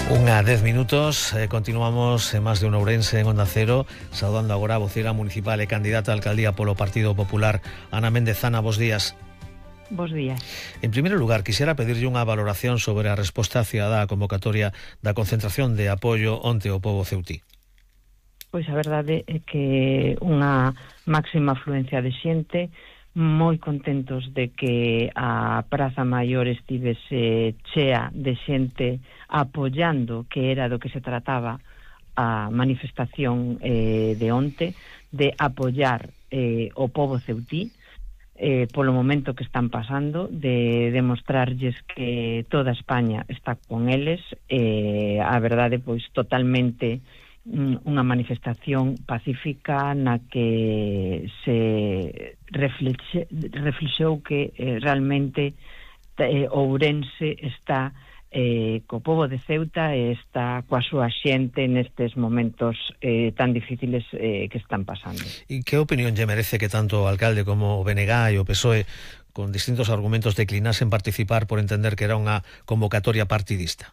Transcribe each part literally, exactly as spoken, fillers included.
Unha dez minutos, eh, continuamos en máis de un Ourense en Onda Cero, saudando agora a voceira municipal e candidata a alcaldía polo Partido Popular, Ana Méndez. Ana, bos días. Bos días. En primeiro lugar, quixera pedirlle unha valoración sobre a resposta cidadá á convocatoria da concentración de apoio onte ao pobo ceutí. Pois a verdade é que unha máxima afluencia de xente, moi contentos de que a Praza Maior estivese chea de xente apoiando, que era do que se trataba a manifestación eh, de onte, de apoiar eh, o pobo ceutí eh, polo momento que están pasando, de demostrarlles que toda España está con eles. Eh, a verdade, pois, totalmente unha manifestación pacífica na que se reflexe, reflexou que eh, realmente eh, Ourense está eh, co pobo de Ceuta e está coa súa xente nestes momentos eh, tan difíciles eh, que están pasando. E que opinión lle merece que tanto o alcalde como o B N G e o P S O E con distintos argumentos declinasen participar por entender que era unha convocatoria partidista?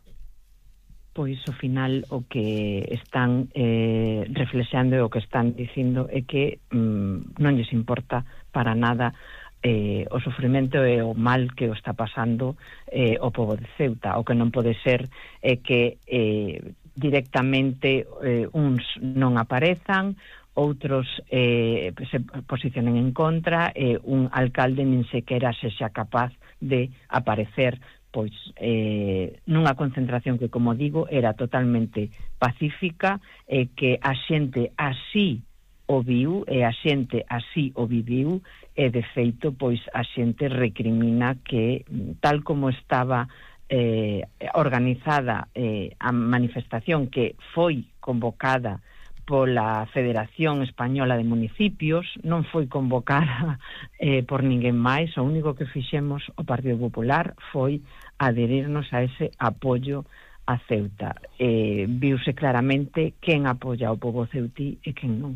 Pois, ao final, o que están eh, reflexando e o que están dicindo é que mm, non lles importa para nada eh, o sofrimento e o mal que o está pasando eh, o pobo de Ceuta. O que non pode ser é que eh, directamente eh, uns non aparezan, outros eh, se posicionen en contra, e eh, un alcalde nin sequera sexa capaz de aparecer pois eh, nunha concentración que, como digo, era totalmente pacífica e que a xente así o viu e a xente así o viviu, e de feito, pois a xente recrimina que tal como estaba eh, organizada eh, a manifestación, que foi convocada pola Federación Española de Municipios, non foi convocada eh, por ninguén máis. O único que fixemos o Partido Popular foi adherirnos a ese apoio a Ceuta. Eh, viuse claramente quen apoia o pobo ceutí e quen non.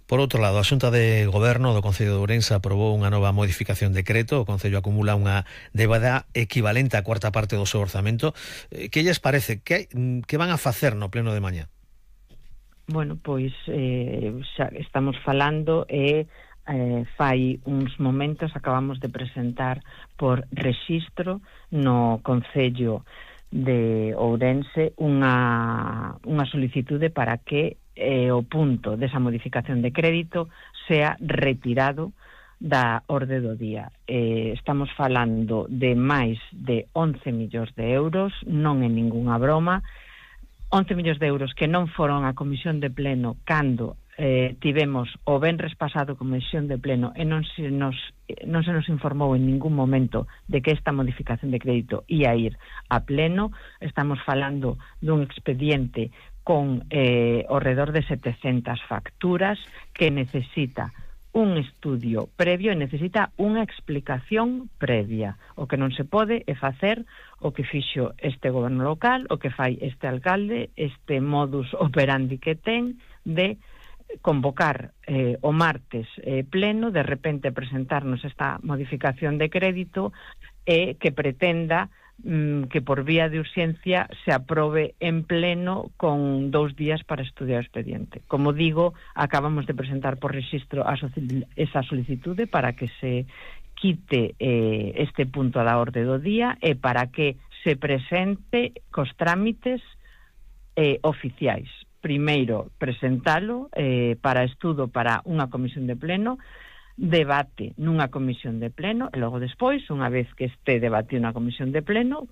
Por outro lado, a Xunta de Goberno do Concello de Ourense aprobou unha nova modificación de decreto. O Concello acumula unha débeda equivalente á cuarta parte do seu orzamento. Que lles parece? Que, que van a facer no pleno de mañá? Bueno, pois eh, xa estamos falando e eh, fai uns momentos acabamos de presentar por rexistro no Concello de Ourense unha, unha solicitude para que eh, o punto desa modificación de crédito sea retirado da orde do día. Eh, estamos falando de máis de once millóns de euros, non é ningunha broma, once millóns de euros que non foron a comisión de pleno cando eh, tivemos o venres pasado comisión de pleno e non se nos non se nos informou en ningún momento de que esta modificación de crédito ia ir a pleno. Estamos falando dun expediente con eh, ao redor de setecentas facturas que necesita un estudio previo e necesita unha explicación previa. O que non se pode é facer o que fixo este goberno local, o que fai este alcalde, este modus operandi que ten de convocar eh, o martes eh, pleno, de repente presentarnos esta modificación de crédito e que pretenda mm, que por vía de urxencia se aprobe en pleno con dous días para estudiar o expediente. Como digo, acabamos de presentar por rexistro a esa solicitude para que se quite eh, este punto da orde do día e para que se presente cos trámites eh, oficiais. Primeiro, presentalo eh, para estudo para unha comisión de pleno, debate nunha comisión de pleno, e logo despois, unha vez que este debate unha comisión de pleno,